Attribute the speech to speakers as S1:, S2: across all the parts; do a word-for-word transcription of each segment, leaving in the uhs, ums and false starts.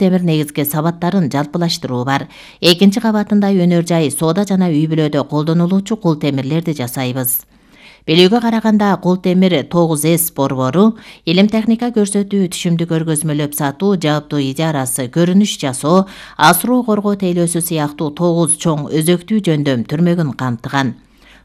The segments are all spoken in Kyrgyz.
S1: темир негизги сабаттарын жалпылаштыруу бар. Экинчи кабатында өнөр жай, соода жана үй бүлөдө колдонулуучу кул темирлерди жасайбыз. Белүүгө караганда кул темир тогуз эс борбору илим техника көрсөтүү, түшүмдү көргөзмөлөп сатуу, жааптуу ижарасы, көрүнүш жасоо, асыроо коргоо тейлөөсү сыяктуу тогуз чоң өзөктүү жөндөм түрмөгүн камтыган.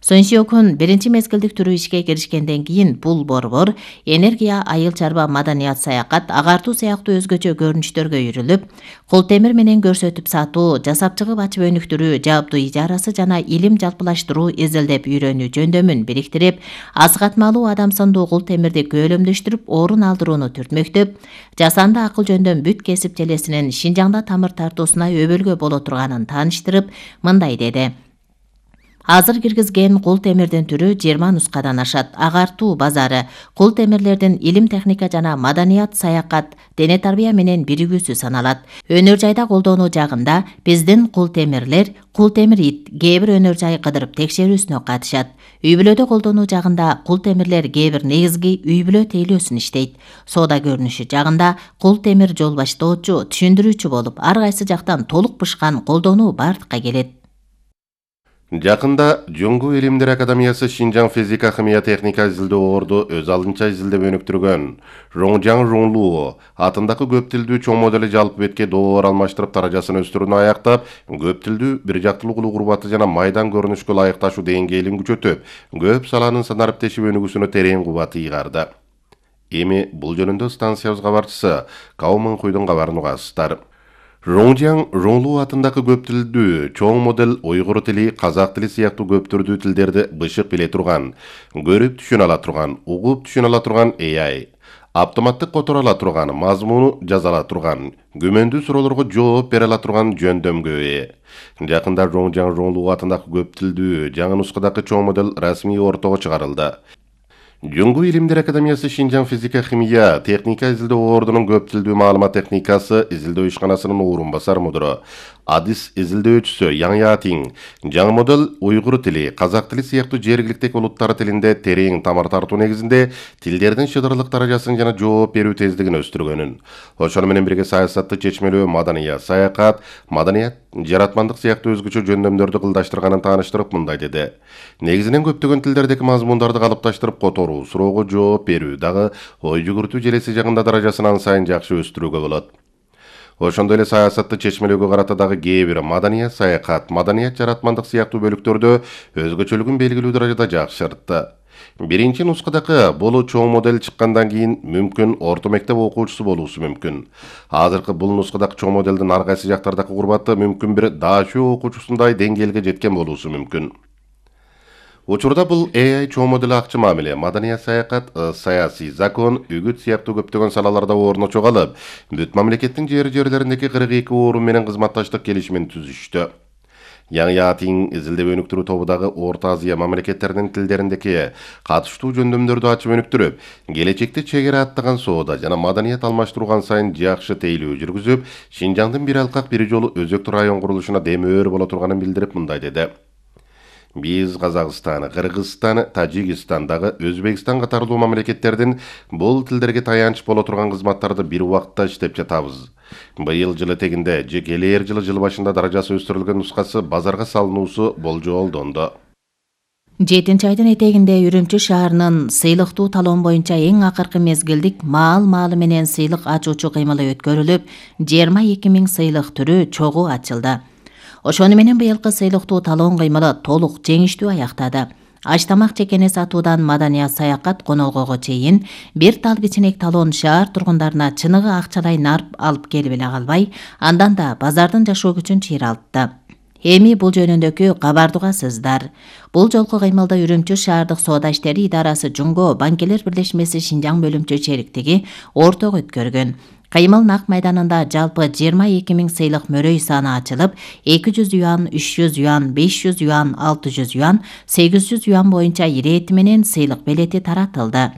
S1: Сонсиокун биринчи мезгилдик түрү ишке киришкенден кийин бул борбор энергия, айыл чарба, маданият, саякат, агартуу сыяктуу өзгөчө көрүнүштөргө үйрүлүп, кул темир менен көрсөтүп сатуу, жасап чыгып ачып өнүктүрүү, жааптуу ижарасы жана илим жалпылаштыруу, изилдеп үйрөнүү жөндөмүн бириктирип, асыгатмалуу адамсындуу кул темирди көөлөмдөштүрүп, орун алдырууну түртмөктөп, жасанды акыл жөндөм бүт кесип желесинин Шинжаңда тамыр тартуусуна өбөлгө боло турганын тааныштырып, мындай деди. Азыр киргизген кул темирдин түрү жыйырма нускадан ашат. Агартуу базары кул темирлердин илим техника жана маданият, саякат, дене тарбия менен биригүүсү саналат. Өнөр жайда колдонуу жагында биздин кул темирлер кул темир ит кээ бир өнөр жай кыдырып текшерүүсүнө катышат. Үй бүлөдө колдонуу жагында кул темирлер кээ бир негизги үй бүлө тейлөөсүн иштейт. Соода көрүнүшү жагында кул темир жол баштоочу, түшүндүрүүчү болуп, ар кайсы жактан толук бышкан колдонуу бардыкка келет.
S2: Жакында Жоңгу Илимдер Академиясы Шинжаң физика, химия, техника изилдөө орду өз алдынча изилдеп өнүктүргөн Роңжаң Роңлуу атындагы көп тилдүү чоң модели жалпы бетке долбоор алмаштырып даражасын өстүрүүнү аяктап, көп тилдүү бир жактылуу кылуу курбаты жана майдан көрүнүшкө ылайыкташуу деңгээлин күчөтүп, көп саланын санариптешип өнүгүүсүнө терең кубат ыйгарды. Эми бул жөнүндө станциябыз кабарчысы Каумын Куйдун кабарын угасыздар. Роңжаң Роңлуу атындагы көп тилдүү чоң модел уйгур тили, казак тили сыяктуу көп түрдүү тилдерди бышык биле турган, көрүп түшүнө ала турган, угуп түшүнө ала турган А I, автоматтык которо ала турган, мазмуну жаза ала турган, күмөндүү суроолорго жооп бере ала турган жөндөмгө ээ. Жакында Роңжаң Роңлуу атындагы көп тилдүү жаңы нускадагы чоң модел расмий ортого чыгарылды. Жоңгу Илимдер Академиясы Шинжаң физика, химия, техника изилдөө ордунун көп тилдүү маалымат техникасы изилдөө ишканасынын орун басар мудуру, адис изилдөөчүсү Яң Ятиң жаңы модел уйгур тили, казак тили сыяктуу жергиликтеги улуттар тилинде терең тамыр тартуу негизинде тилдердин шыдырлык даражасын жана жооп берүү тездигин өстүргөнүн, ошону менен бирге саясатты чечмелөө, маданият, саякат, маданият, жаратмандык сыяктуу өзгөчө жөндөмдөрдү кылдаштырганын тааныштырып мындай деди. Негизинен көптөгөн тилдердеги мазмундарды калыпташтырып которуу, суроого жооп берүү дагы ой жүгүртүү желеси жагында даражасын ан сайын жакшы өстүрүүгө болот. Ошондой эле саясатты чечмелөөгө карата дагы кээ бир маданият, саякат, маданият, жаратмандык сыяктуу бөлүктөрдө өзгөчөлүгүн белгилүү даражада жакшыртты. Биринчи нускадагы бул чоң модель чыккандан кийин мүмкүн орто мектеп окуучусу болуусу мүмкүн. Азыркы бул нускадагы чоң моделдин ар кайсы жактардагы курбаты мүмкүн бир даашөө окуучусундай деңгээлге жеткен болуусу мүмкүн. Учурда бул А I чоң модель акчы мамиле, маданият, саякат, саясий закон, үгүт сыяктуу көптөгөн салаларда орун чогалып, бүт мамлекеттин жер жерлериндеги кырк эки орун менен кызматташтык келишимин түзүштү. Яң Ятиң изилдеп өнүктүрүү тобудагы Орто Азия мамлекеттеринин тилдериндеги катыштуу жөндөмдөрдү ачып өнүктүрүп, келечекте чегара аттаган соода жана маданият алмаштырган сайын жакшы тейлөө жүргүзүп, Шинжаңдын бир алкак бир жолу өзөктүү район курулушуна демөөр боло турганын билдирип мындай деди. Биз Казакстан, Кыргызстан, Тажикстандагы Өзбекстан катарлуу мамлекеттердин бул тилдерге таянч боло турган кызматтарды бир убакытта иштеп жатабыз. Быйыл жылы тегинде же келер жылы жыл башында даражасы өстүрүлгөн нускасы базарга салынуусу болжолдонду.
S1: жетинчи айдын этегинде Үрүмчү шаарынын сыйлыктуу талон боюнча эң акыркы мезгилдик маал-маалы менен сыйлык ачуучу кыймылы өткөрүлүп, жыйырма эки миң сыйлык түрү чогуу ачылды. Ошону менен быйылкы сыйлыктуу талон кыймылы толук жеңиштүү аяктады. Аш тамак чекени сатуудан маданият, саякат, конолгого чейин бир тал кичинек талон шаар тургундарына чыныгы акчалай нарп алып келип эле калбай, андан да базардын жашоо күчүн чыйралтты. Эми бул жөнүндөгү кабарды угасыздар. Бул жолку кыймылды Үрүмчү шаардык соода иштери идарасы Жумго банкелер бирлешмеси Шинжаң бөлүмчө чериктиги ортого өткөргөн. Кыймыл нак майданында жалпы жыйырма эки миң сыйлык мөрөй саны ачылып, эки жүз юан, үч жүз юан, беш жүз юан, алты жүз юан, сегиз жүз юан боюнча ирети менен сыйлык белети таратылды.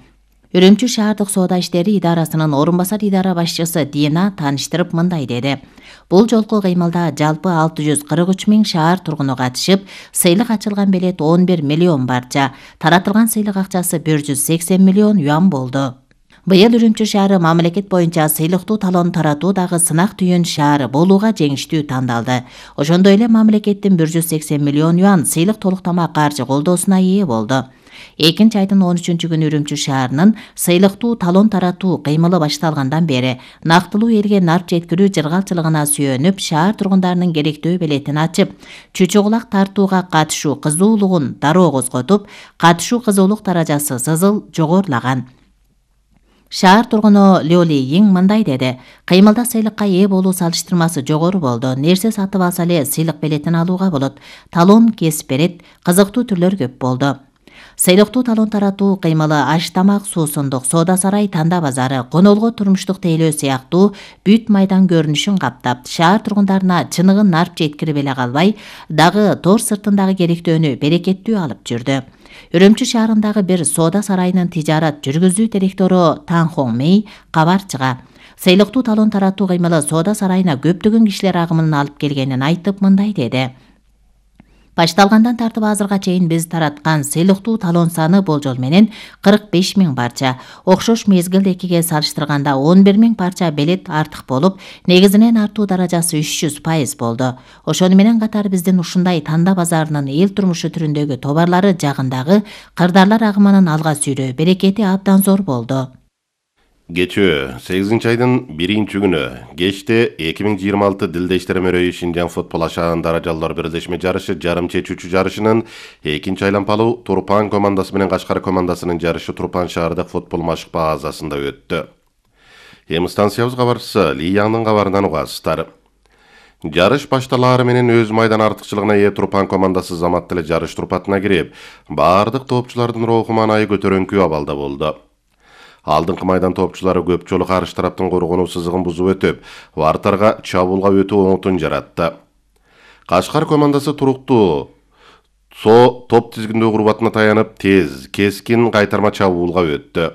S1: Үрүмчү шаардык соода иштери идарасынын орун басар идара башчысы Дина тааныштырып мындай деди. Бул жолку кыймылда жалпы алты жүз кырк үч миң шаар тургуну катышып, сыйлык ачылган белет он бир миллион барча, таратылган сыйлык акчасы бир жүз сексен миллион юан болду. Быйыл Үрүмчү шаары мамлекет боюнча сыйлыктуу талон таратуудагы сынак түйүн шаар болууга жеңиштүү тандалды. Ошондой эле мамлекеттин бир жүз сексен миллион юан сыйлык толуктама каржы колдоосуна ээ болду. Экинчи айдын он үчүнчү күнү Үрүмчү шаарынын сыйлыктуу талон таратуу кыймылы башталгандан бери нактылуу элге нарп жеткирүү жыргалчылыгына сүйөнүп, шаар тургундарынын керектөө белетин ачып, чүчү кулак тартууга катышуу кызуулугун дароо козготуп, катышуу кызуулук даражасы сызыл жогорулаган. Шаар тургуну Лёли Йиң мындай деди: кыймылда сыйлыкка ээ болуу салыштырмасы жогору болду. Нерсе сатып алса эле сыйлык белетин алууга болот. Талон кесип берет, кызыктуу түрлөр көп болду. Сыйлыктуу талон таратуу кыймылы аш тамак, суусундук, соода сарай, танда базары, конолго турмуштук тейлөө сыяктуу бүт майдан көрүнүшүн каптап, шаар тургундарына чыныгын нарп жеткирип эле калбай, дагы тор сыртындагы керектөөнү берекеттүү алып жүрдү. Үрүмчү шаарындагы бир соода сарайынын тижарат жүргүзүү директору Тан Хон Мэй кабар чыга. Сыйлыктуу талон таратуу кыймылы соода сарайына көптөгөн кишилер агымын алып келгенин айтып, мындай деди: Башталгандан тартып азырга чейин биз тараткан сыйлыктуу талон саны болжол менен кырк беш миң парча. Окшош мезгилдекиге салыштырганда он бир миң парча белет артык болуп, негизинен артуу даражасы үч жүз пайыз болду. Ошону менен катар биздин ушундай танда базарынын эл турмушу түрүндөгү товарлары жагындагы кырдаарлар агымынын алга сүйрөө берекети абдан зор болду.
S2: Кечөө сегизинчи айдын биринчи күнү кечте эки миң жыйырма алты Дилдештер мөрөйү Шинжаң футбол ашаан даражалар бирлешме жарышы жарым чечүүчү жарышынын экинчи айланпалуу Турпан командасы менен Кашкар командасынын жарышы Турпан шаардык футбол машык базасында өттү. Эми станциябыз кабарчысы Ли Яңдын кабарынан угасыздар. Жарыш башталаары менен өз майдан артыкчылыгына ээ Турпан командасы замат эле жарыш турпатына кирип, баардык тоопчулардын руху маанайы көтөрүңкү абалда болду. Алдыңкы майдан тоопчулары көп жолу каршы тараптын коргонуу сызыгын бузуп өтүп, вартарга чабуулга өтүү оңотун жаратты. Кашкар командасы туруктуу со топ тизгиндөө курбатына таянып, тез, кескин кайтарма чабуулга өттү.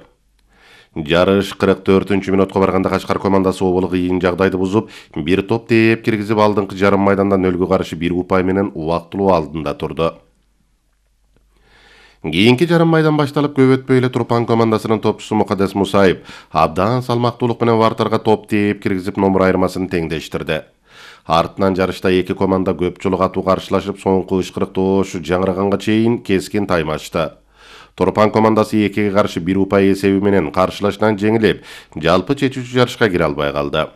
S2: Жарыш кырк төртүнчү мүнөткө барганда Кашкар командасы оболу кыйын жагдайды бузуп, бир топ тээп киргизип, алдыңкы жарым майдандан нөлгө каршы бир упай менен убактылуу алдында турду. Кийинки жарым майдан башталып, көп өтпөй эле Турпан командасынын топчусу Мукаддес Мусаев абдан салмактуулук менен вартарга топ тээп киргизип, номер айырмасын теңдештирди. Артынан жарышта эки команда көп жолу катуу каршылашып, соңку ышкырык тоошу жаңыраганга чейин кескин таймашты. Турпан командасы экиге каршы бир упай эсеби менен каршылашынан жеңилип, жалпы чечүүчү жарышка кире албай калды.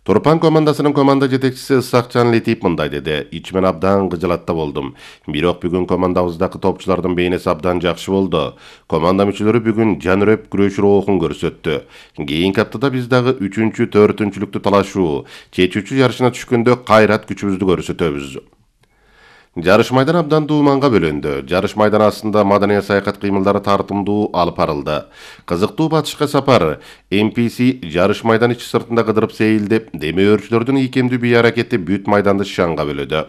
S2: Турпан командасынын команда жетекчиси Ысакчан Летип мындай деди: "Ичимен абдан кыжалатта болдум. Бирок бүгүн командабыздагы топчулардын бейнеси абдан жакшы болду. Команда мүчөлөрү бүгүн жан үрөп күрөш рухун көрсөттү. Кийинки аптада биз дагы үчүнчү, төртүнчүлүктү талашуу, чечүүчү жарышына түшкөндө кайрат күчүбүздү көрсөтөбүз." Жарыш майдан абдан дууманга бөлөндү. Жарыш майдан астында маданий саякат кыймылдары тартымдуу алып барылды. Кызыктуу батышка сапар эм пи си жарыш майдан ичи сыртында кыдырып сейилдеп, демөөрчүлөрдүн ийкемдүү бий аракети бүт майданды шаңга бөлөдү.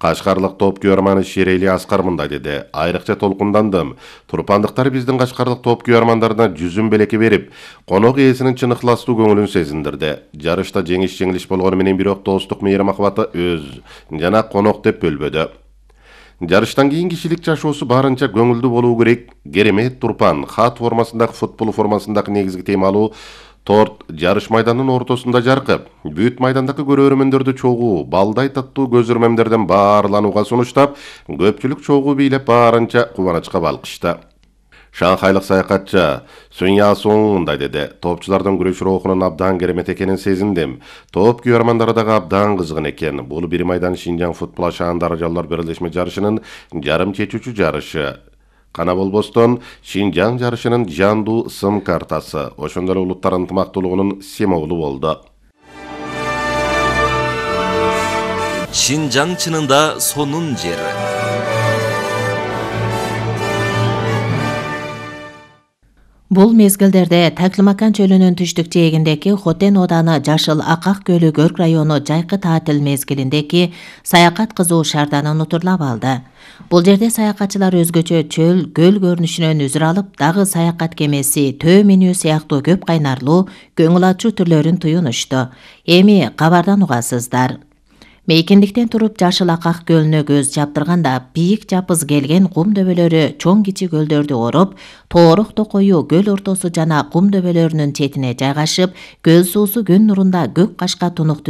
S2: Кашкарлык топ күйөрманы Шерели Аскар мындай деди: "Айрыкча толкундандым. Турпандыктар биздин кашкарлык топ күйөрмандарына жүзүн белеки берип, конок ээсинин чын ыхластуу көңүлүн сезиндирди. Жарышта жеңиш жеңилиш болгону менен бирок достук мейрим акыбаты өз жана конок деп бөлбөдү. Жарыштан кийин кишилик жашоосу барынча көңүлдүү болуу керек. Керемет Турпан, хат формасындагы футбол формасындагы негизги темалуу торт жарыш майданынын ортосунда жаркып, бүт майдандагы көрөрмөндөрдү чогуу, балдай таттуу көз өрмөмдөрдөн баарланууга сунуштап, көпчүлүк чогуу бийлеп барынча кубанычка балкышты. Шанхайлык саякатчы Сун Ясон мындай деди: "Топчулардын күрөш рухунун абдан керемет экенин сезиндим. Топ күйөрмандары дагы абдан кызгын экен. Бул бир майдан Шинжаң футбол ашаан даражалар бирлешме жарышынын жарым чечүүчү жарышы. Кана болбостон Шинжаң жарышынын жандуу сым картасы, ошондой эле улуттар ынтымактуулугунун символу болду."
S3: Шинжаң чынында сонун жери.
S1: Бул мезгилдерде Таклымакан чөлүнүн түштүк жээгиндеки Хотен ооданы Жашыл Акак көлү Көрк району жайкы таатил мезгилиндеки саякат кызуу шаардан унутулап алды. Бул жерде саякатчылар өзгөчө чөл, көл көрүнүшүнөн үзүр алып, дагы саякат кемеси, төө менүү сыяктуу көп кайнарлуу, көңүл ачуу түрлөрүн туюнушту. Эми кабардан угасыздар. Мейкиндиктен туруп Жашыл Акак көлүнө көз чаптырганда бийик жапыз келген кум дөбөлөрү чоң кичи көлдөрдү ороп, тоорок токою көл ортосу жана кум дөбөлөрүнүн четине жайгашып, көл суусу күн нурунда көк кашка тунук